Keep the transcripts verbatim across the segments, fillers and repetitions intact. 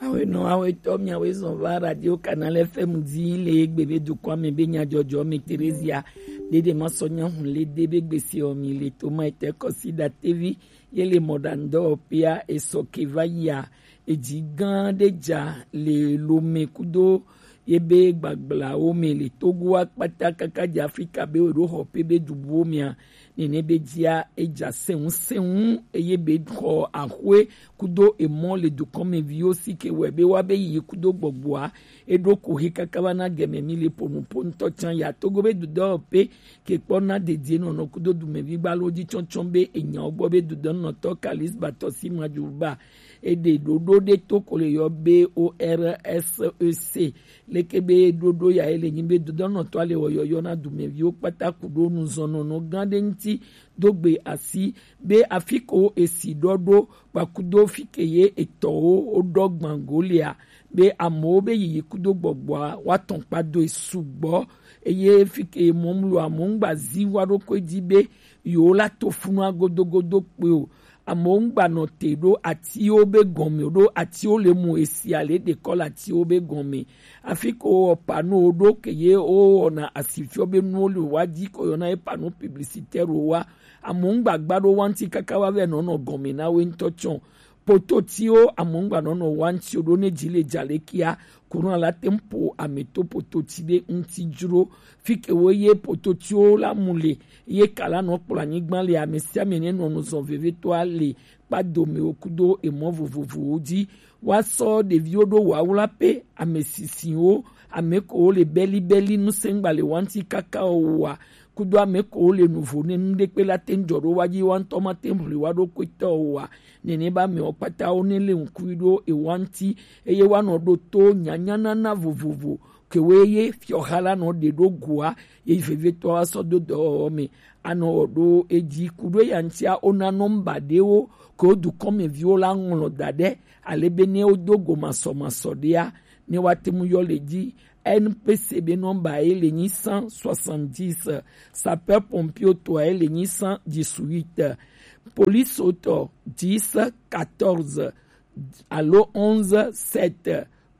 Awe nɔ awe tɔ miawe zɔn va Radio Canal F M di le egbe be dukɔ me be nyadzɔdzɔ me Terezia dede ma sɔ nya hun le de be gbese ɔ mi le to ma ete kɔsi da tevi ye le mɔɖaŋudɔwɔƒea esɔ ke va yia. Edzi gã ɖe dza le Lome kudo yebe gbagblãwo me le Togoa kpata kaka dze Afrika be wòɖo xɔ ƒe be dubuwo mea. Nene be dzia edza sɛŋusɛŋu eye be xɔ axwe kudo emɔ le dukɔmeviwo si ke wɔe be woabe yiyi kudo gbɔgbɔa eɖo ko he kaka va na gɛmɛ mi le ƒonuƒo ŋutɔ tsã ya Togo be dudɔwɔƒe ke kpɔ na dedie nɔnɔ kudo dumevi gbalo dzi tsɔtsɔ be enyawo gbɔ be dudɔnɔtɔ Kalis Batɔsi Madjuba eɖe ɖoɖo ɖe to ko le yɔ be O R S E C leke be ɖoɖo ya ele nyi be dodɔnɔtɔ ale wɔyɔyɔ na dumeviwo kpata ku ɖo nuzɔnɔnɔ gã ɖe ŋuti do gbe asi be afi ko esi ɖɔ ɖo kpakudo fi ke ye etɔwo woɖɔ gbango lea be amewo be yiyi kudo gbɔgbɔa woatɔn kpadoe sugbɔ eye fi ke mɔmlu amewo ŋgba zi wa ɖo koe dzi be yewo la to funua godogodo kpe o. Amewo ŋgba nɔ te ɖo atiwo be gɔme ɖo atiwo le mu esia le ɖe kɔ le atiwo be gɔme. Afi ko wɔ panowo ɖo ke ye wowɔna asifiɔ be nuwo le wa dzi ko yɔna ye pano publicitaire wa. Amewo ŋgba gba ɖo wa ŋuti kaka wa vɛ nɔ nɔ gɔme na we ŋutɔ tsɔ. Pototiwo amewo ŋgba nɔ nɔ wa ŋuti ɖo ne dzi le dza le kia Courant la te ŋu ƒo ame to pototi ɖe ŋuti dzro. Fi ke wo ye pototiwo la mu le, ye ka la nɔ kplɔ anyigba le ame sia ame ne nɔ nu zɔn vevitɔa le kpadomewo kudo emɔ vovovowo dzi. Woasɔ ɖeviwo ɖo wawlaƒe, ame sisiwo, ame kowo le belibeli ŋusẽgba le wa ŋuti kaka o wa, kudo ame kowo le nuvo ne nu ɖekpe la te ŋu dzɔ ɖo wa dzi wa ŋutɔ ma te ŋu ʋli wa ɖokuitɔ o wa. Nene ba amewo kpata wo ne le ŋkui ɖo ewa ŋuti eye woanɔ ɖo to nyanyanana vovovo kewoe ye fiɔha la nɔ ɖe ɖo goa ye vevitɔ asɔ do dɔwɔwɔ me anɔ wɔ ɖo edzi ku ɖo eya ŋutia wona nɔmba ɖewo ke wo dukɔmeviwo la ŋlɔ da ɖe ale be ne wodo go masɔmasɔ ɖea ne woate ŋu yɔ le dzi. N P C be nɔmba ye le nyi cent soixante-dix, sapeur pompier tɔ ye le nyi cent dix-huit, police tɔ dix quatorze alo onze sept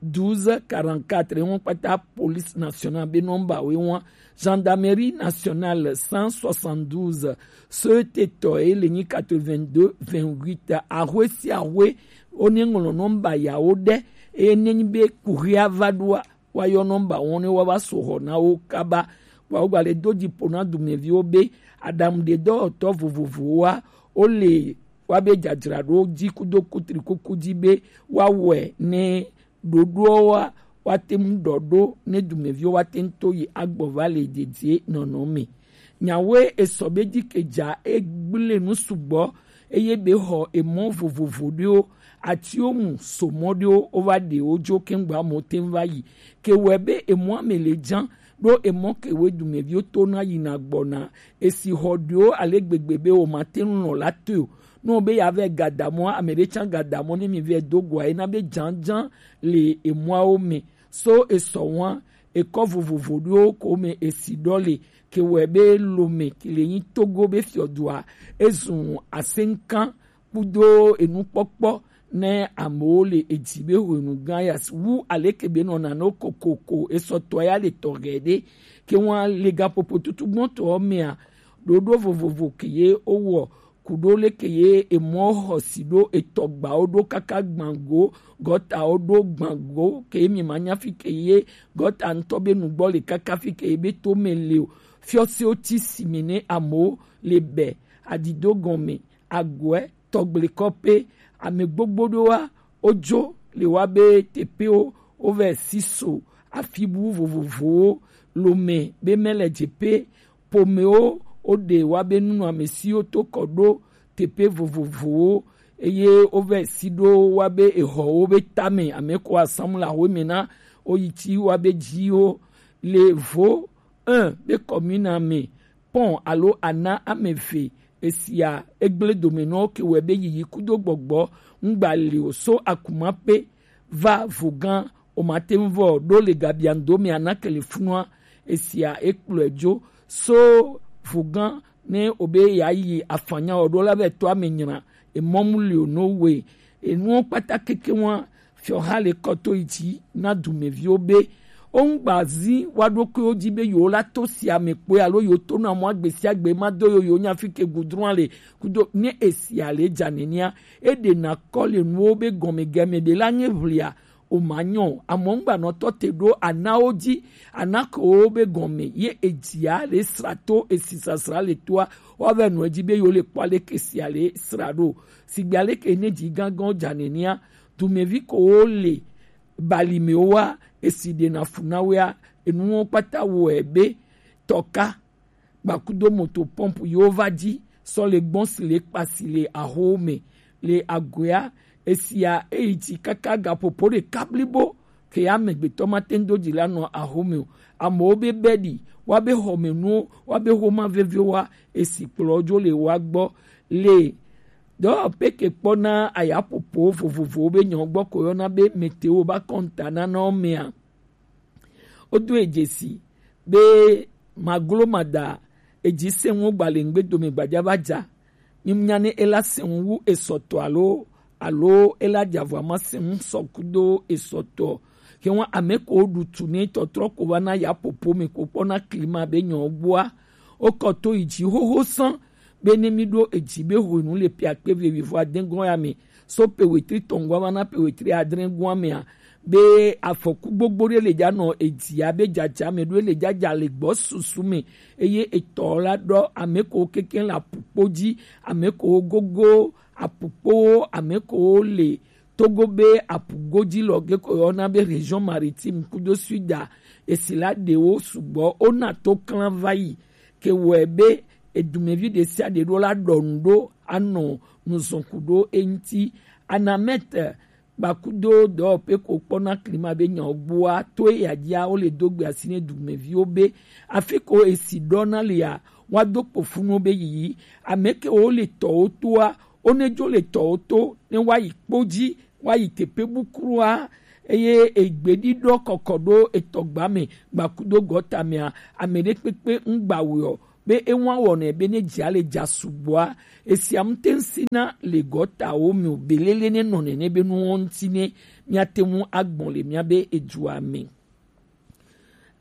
douze quarante-quatre ŋu kpata police nationale be nɔmba we ŋua. Gendarmerie nationale cent soixante-douze, soete tɔ ye le nyi quatre-vingt-deux vingt-huit. Ahwe sia ahwe wo ne ŋlɔ nɔmba yawo ɖe eye ne nyi be kuxia va ɖoa woayɔ nɔmba wo ne woava so xɔ na wo kaba. Wa wogba le do dzi ƒo na dumeviwo be aɖaŋuɖedɔwɔtɔ vovovowoa wole woabe dzadzraɖo dzi kudo kutrikuku dzi be woawɔe ne ɖoɖoawoa woate ŋu ɖɔ ɖo ne dumeviwo woate ŋu to yi agbɔ va le dedie nɔnɔ me. Nyawoe esɔ be dzi ke dza egblẽ nu sugbɔ eye be xɔ emɔ vovovo ɖewo atiwo mu somɔ ɖewo wova ɖe wo dzo keŋgba mo te ŋu va yi ke wɔe be emɔa me le dzã ɖo emɔ ke woe dumeviwo to na yina gbɔna esi xɔ ɖewo ale gbegbe be womate ŋu lɔ̃ la toe o. Ne wobe yeavɛ gadamɔa, ame ɖe tsã gadamɔ ne mi vɛ do goa ena be dzadzã le emɔawo me. So esɔ ŋua, ekɔ vovovo ɖewo ko me esi ɖɔ le ke wɔe be Lome ke le nyi Togo be fiɔdua ezun aseŋkan kudo enukpɔkpɔ ne amewo le edzi be hwenu gã ya wu aleke be nɔ nanewo kokoko esɔtɔ ya le tɔxɛ ɖe ke ŋua le gaƒoƒo tutu gbɔtɔwo mea ɖoɖo vovovo ke ye wowɔ ku ɖo leke ye emɔ xɔsi ɖo etɔgbawo ɖo kaka gbango gɔtawo ɖo gbango ke mi ma nya fi ke ye gɔta ŋutɔ be nugbɔ le kaka fi ke ye be to me le o. Fiɔsiwo ti si mi ne amewo le bɛ adido gɔme agɔɛ tɔgblekɔƒe ame gbogbo ɖewoa wodzo le wa be teƒewo wovɛ si so afibu vovovowo Lome be mele dzeƒe ƒomewo woɖe wa be nunɔamesiwo to kɔ ɖo teƒe vovovowo eye wovɛ si ɖo wa be exɔwo be tame ame ko asamu le ahoe me na woyi ti wa be dziwo le vo un be kɔmina me pɔn alo ana ame eve esia egblẽ domenɔwo ke wɔe be yiyi kudo gbɔgbɔ ŋgba li o so akumape va vogã o mate ŋu vɔ ɖo le gabiando me ana kele funua esia ekplɔe dzo so vogã ne o be ya yi afanya o ɖo la vɛ to ame nyra emɔmu li o no we enuwo kpata keke wa Fiɔha le kɔ to yi ji na dumeviwo be wongba zi wa ɖokuiwo ji be yewo la to sia me kpoe alo yewo to na mɔ agbe sia gbe ma do yo yewo nya fi ke gudrɔn le kudo ne esia le dza nenia e ɖe na kɔ le nuwo be gɔme gɛme ɖe la nye ʋlia o ma nyɔ o. Amɔ ŋgba nɔ tɔ te ɖo anawo ji, anakewo be gɔme ye edzia le sra to esi sasra le toa wa vɛ nɔ edzi be yewo le kpɔ aleke sia le sra ɖo. Sigbe aleke ne dzi gãgãwo dza nenia dumevi ko wo le balimewoa esi ɖena fu na woea enuwo kpata wɔe be tɔka gbakudo moto pɔmpu yewo va dzi sɔ le gbɔn si le kpasi le ahowo me le agoea esia eyi dzi kaka gaƒoƒo ɖeka blibo ke amegbetɔ mate ŋu do dzi la nɔ ahome o. Amewo be be ɖi woabe xɔmenuwo woabe xoma veviwo wa esi kplɔ dzo le woa gbɔ le dɔwɔƒe ke kpɔna ayaƒoƒo vovovowo be nyɔ gbɔ ko yɔna be meteo ba kɔnta nanawo mea wodo edzesi be maglomada edzi sɛnwo gbalẽŋgbe dome gbadza va dza. Minya ne ela sɛnwu wu esɔtɔ alo alo ela dzavɔ ama sɛnwu sɔkudo esɔtɔ. Ke ŋu ame ko ɖu tu ne tɔtrɔ ko va na ya popo me ko kpɔna klima be nyɔ gbɔa. Wokɔ to yi dzi xoxo sã be ne mi ɖo edzi be hwenu le ƒe akpe wuieve vɔ ade gɔ̃ ya me so ƒe wetri tɔ̃ gɔ̃ va na ƒe wetri adre gɔ̃ mea be afɔku gbogbo ɖe le dza nɔ edzi abe dzadza me ɖo le dzadza le gbɔ susu me eye etɔ la ɖɔ ame ko keke le apukpo dzi ame ko gogo apukpowo ame ko le Togo be apugodzi lɔ ge ko yɔna be région maritime kudo suda esi la ɖewo sugbɔ wona to klã va yi ke wɔe be edumevi ɖe sia ɖe ɖo la ɖɔ nu ɖo anɔ nuzɔku ɖo eŋti. Anamɛte gbakudo dɔwɔƒe ko kpɔna klima be nyawo gbɔa to eya dzia wole do gbe asi ne dumeviwo be afi ko esi ɖɔna lia woado kpofunuwo be yiyi ame kewo le tɔwo toa wone dzo le tɔwo to ne woayi kpo dzi woayi teƒe bukrua eye egbeɖiɖɔ kɔkɔ ɖo etɔgba me gbakudo gɔta mea ame ɖe kpekpe ŋgba wɔe o be ewa wɔnɛ be ne dzia le dza sugbɔa esia ŋute ŋsina le gɔtawo me o belele ne nɔ nene be nuwo ŋuti ne miate ŋu agbɔn le miabe edua me.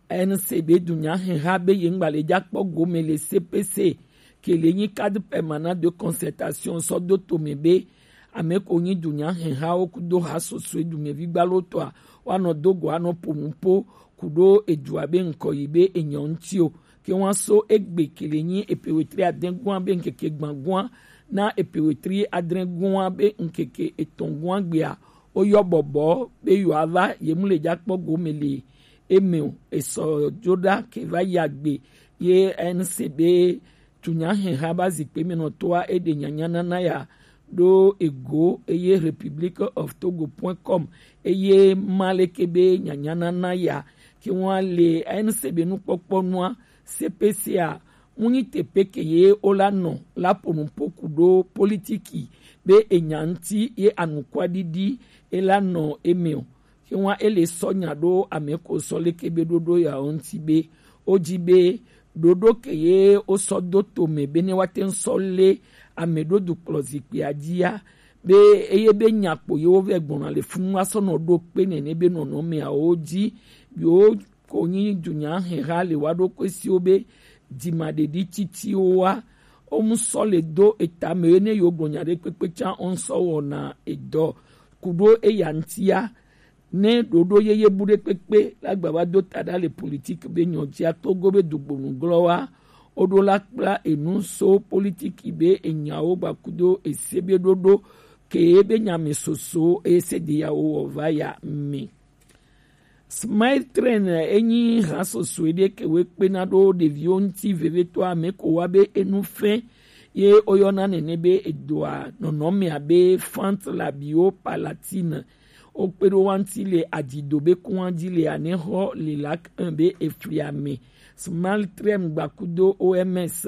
N C B dunya heha be ye ŋgba le dza kpɔ gome le C P C ke le nyi cadre permanent de concertation sɔ do tome be ame ko nyi dunya hehawo kudo ha sosoe dumevi gbalo tɔa woanɔ do go anɔ ƒo nu ƒo ku ɖo edua be ŋkɔ yi be enyɔ ŋuti o. Ke woaso egbe ke le nyi epe wetri adre gɔ̃a be ŋkeke gbã gɔ̃a na epe wetri adre gɔ̃a be ŋkeke etɔ̃ gɔ̃a gbea woyɔ bɔbɔ be yewoava ye mu le dza kpɔ gome le eme o. Esɔ dzo ɖa ke va yi agbe ye N C B tunyaheha ba zikpui me nɔtɔa eɖe nyanyanana ya ɖo ego eye Republic of Togo point com eye ma leke be nyanyanana ya ke ŋua le N C B nukpɔkpɔ nua C P C a ŋunyi teƒe ke ye wola nɔ la ƒo nu ƒo ku ɖo politiki be enya ŋuti ye anukwaɖiɖi ela nɔ eme o. Ke ŋua ele sɔ nya ɖo ame ko sɔ leke be ɖoɖo ya ŋuti be wodzi be ɖoɖo ke ye wosɔ do tome be ne woate ŋu sɔ lé ame ɖo dukplɔ zikpuia dzia be eye be nya kpo ye wovɛ gbɔna le funu asɔ nɔ ɖo kpe nene be nɔnɔmeawo dzi yewo ko nyi dunyaheha le wa ɖo kɔe siwo be dzimaɖeɖi titiwo wa wo mu sɔ le do eta me ye ne yewo gblɔ nya ɖe kpekpe tsã wo ŋsɔ wɔna edɔ ku ɖo eya ŋutia ne ɖoɖo yeye bu ɖe kpekpe la gba va do ta ɖa le politiki be nyɔ dzia Togo be dugbonu glɔ wa woɖo la kpla enu so politiki be enyawo gbakudo ese be ɖoɖo ke be nyame soso ese de yawo wɔ va ya me. Smile Train enyi hasosoe ɖe ke wekpena ɖo ɖeviwo ŋuti vevetɔ ame ko wa be enu fɛ ye woyɔna nene be edoa nɔnɔme abe fant labiwo palatine wokpe ɖo wa ŋuti le adzido be kua dzi le anexɔ le lak un be efli ame. Smile Train gbakudo O M S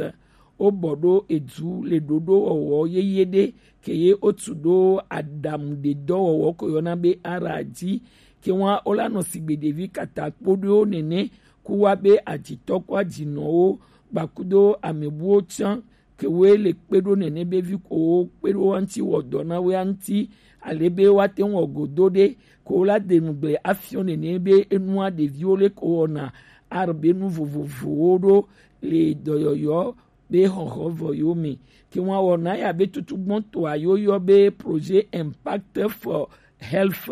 wobɔ ɖo edu le ɖoɖo wɔwɔ yeye ɖe ke ye wotu ɖo aɖaŋuɖedɔwɔwɔ ko yɔna be ara dzi ke wa wola nɔ sigbe ɖevi kata kpo ɖewo nene ku wa be adzitɔ ko adzinɔwo gbakudo amebuwo tsã ke woe le kpe ɖo nene be vi ko wo kpe ɖo wa ŋuti wɔ dɔ na woe ŋuti Ale be woate ŋu wɔ godo ɖe ko la de nugble afiɔ nene be enua ɖeviwo le ko wɔna arbe nu vovovowo ɖo le dɔyɔyɔ be xɔxɔ vɔ yo me. Ke ŋua wɔna ya be tutu gbɔn to ayo yɔ be projet Impact for Health.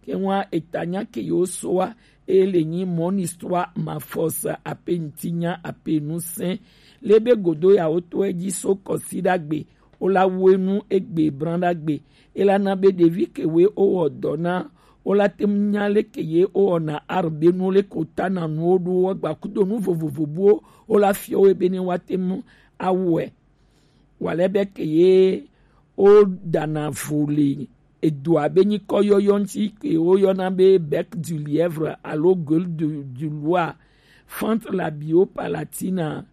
Ke ŋua eta nya ke yo so wa e le nyi mon histoire ma force ape ŋti nya ape nu sɛn le be godo ya wo to edzi so kɔsi ɖagbe wo la wo enu egbe bran ɖagbe. E la na be ɖevi ke we wo wɔ dɔ na wo la te ŋu nya leke ye wo wɔna arbe nu le ko ta na nuwo ɖo wo gba kudo nu vovovo buwo wo la fiɔ wo be ne wa te ŋu awɔe. Wale be ke ye wo dana vo le edo abe nyikɔ yɔyɔ ŋti ke wo yɔna be bec du lièvre alo gueule du, du loir, fente labio palatina.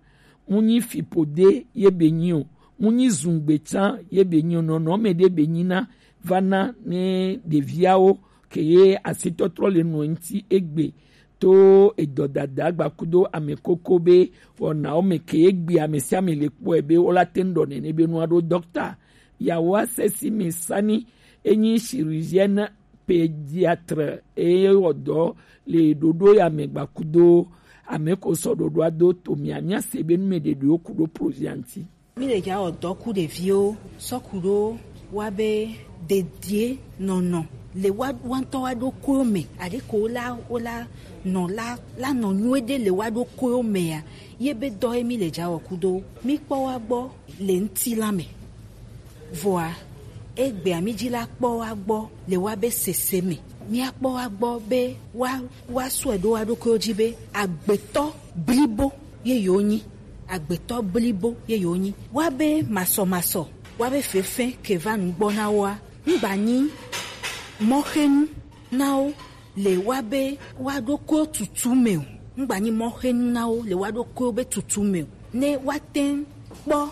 Mu nyi fipode ye be nyi o, mu nyi zungbe tsan ye be nyi o, nɔnɔme ɖe be nyi na va na ne ɖeviawo ke ye asitɔtrɔ le nɔ ŋti egbe to edɔdada gbakudo ame koko be wɔnawo me ke egbe ame sia ame le kpɔe be wo la te ŋu ɖɔ nene be nua ɖo dɔkta. Yawoa sesi mi sani enyi chirurgienne pédiatre eye wɔ dɔ le ɖoɖo ya me gbakudo ame ko sɔ ɖoɖoa do to mia mia se be nu me ɖeɖewo ku ɖo projet ŋti. Mi le ja wɔ dɔ ku ɖeviwo sɔ ku ɖo wa be dedie nɔnɔ le wa wa ŋutɔ wa ɖo koyo me aɖe ko la wo la nɔ la la nɔ nyuie ɖe le wa ɖo koyo mea ye be dɔ ye mi le ja wɔ ku do mi kpɔ wa gbɔ le ŋti la me. Vɔa egbea mi dzi la kpɔ wa gbɔ le wa be sese me. Mia kpɔ wa gbɔ be wa wa sɔe ɖo wa ɖokuiwo dzi be agbetɔ blibo ye yewo nyi. Agbetɔ blibo ye yewo nyi. Wa be masɔmasɔ, wa be fefe ke va nu gbɔ na woa, ŋgba nyi mɔxenu na wo le wa be wa ɖokuiwo tutu me o. Ŋgba nyi mɔxenu na wo le wa ɖokuiwo be tutu me o. Ne wa te ŋu kpɔ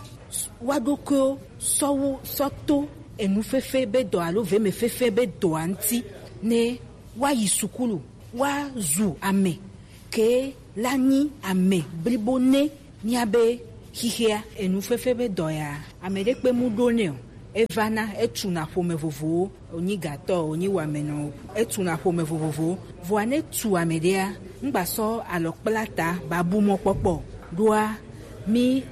wa ɖokuiwo sɔ wo sɔ to enu fefe be dɔ alo veme fefe be dɔa ŋti ne wa yi sukulu wa zu ame ke la nyi ame blibo ne mia be xixia enu fefe be dɔ ya ame ɖe kpe mu ɖo ne o. Eva na etu na ƒome vovowo wònyi gatɔ wònyi wamenɔ o. Etu na ƒome vovovowo vɔa ne tu ame ɖea ŋgba sɔ alɔ kpla ta babu mɔkpɔkpɔ ɖoa mi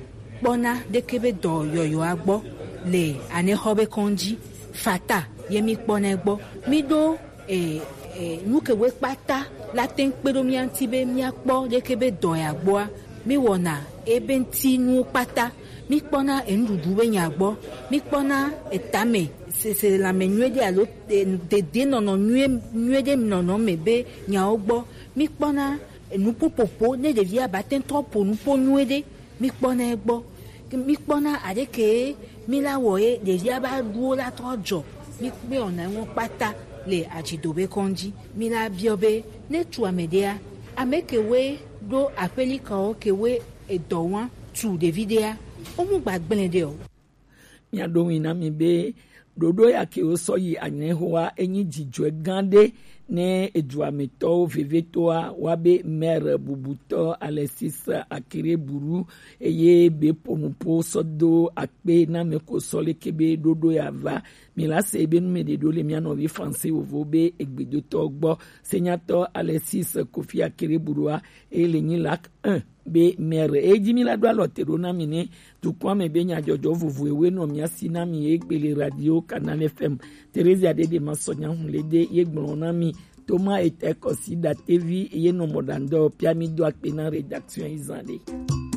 kpɔna ɖeke be dɔ yɔyɔa gbɔ le anexɔ be kɔndzi fata ye mi kpɔna gbɔ mi ɖo e, e, nu ke woe kpata la te ŋu kpe ɖo mía ŋuti be míakpɔ leke be dɔ ya gbɔa, míwɔna ebe ŋuti nuwo kpata. Míkpɔna enuɖuɖu be nya gbɔ, míkpɔna etame sese lãme nyuie ɖe alo e, dedienɔnɔ nyuie nyuie ɖe nɔnɔ me be nyawo gbɔ. Míkpɔna nuƒoƒoƒo ne ɖevia ba te ŋu trɔ ƒo nuƒo nyuie ɖe. Míkpɔnɛ gbɔ. Míkpɔna aɖeke míla wɔ ye ɖevia ba ɖuwo la trɔ dzɔ. Míkpɔna ŋɔ kpata le adzidobe kɔndzi. Míla biɔ be ne tu ame ɖea, ame kewoe ɖo aƒelikawo kewoe edɔ wa tu ɖevi ɖea, wo mu gba gblẽ ɖe o. Mia ɖo ŋui na mi be ɖoɖo ya ke wo sɔ yi anyɛhoa enyi dzidzɔe gã ɖe ne eduametɔwo vevetoa wa be maire bubutɔ Alexis Akere Buru eye be ponupo sɔ do akpe na me ko sɔ leke be ɖoɖo ya va. Mi la se be nu me ɖe ɖo le mia nɔvi français wovo be egbedotɔ gbɔ. Senyatɔ Alexis Kofi Akere Burua e le nyi lac un be maire e dzi mi la ɖo alɔ te ɖo na mi ne dukɔa me be nyadzɔdzɔ vovo ewe nɔ mia si na mi egbe le radio Canal F M. Theresia Dede ma sɔ nya hun le de ye gblɔ na mi. Thomas Etɛ Kɔsi Datevi ye nɔ mɔ ɖandɔ pia mi do akpe na rédaction yi zan ɖe.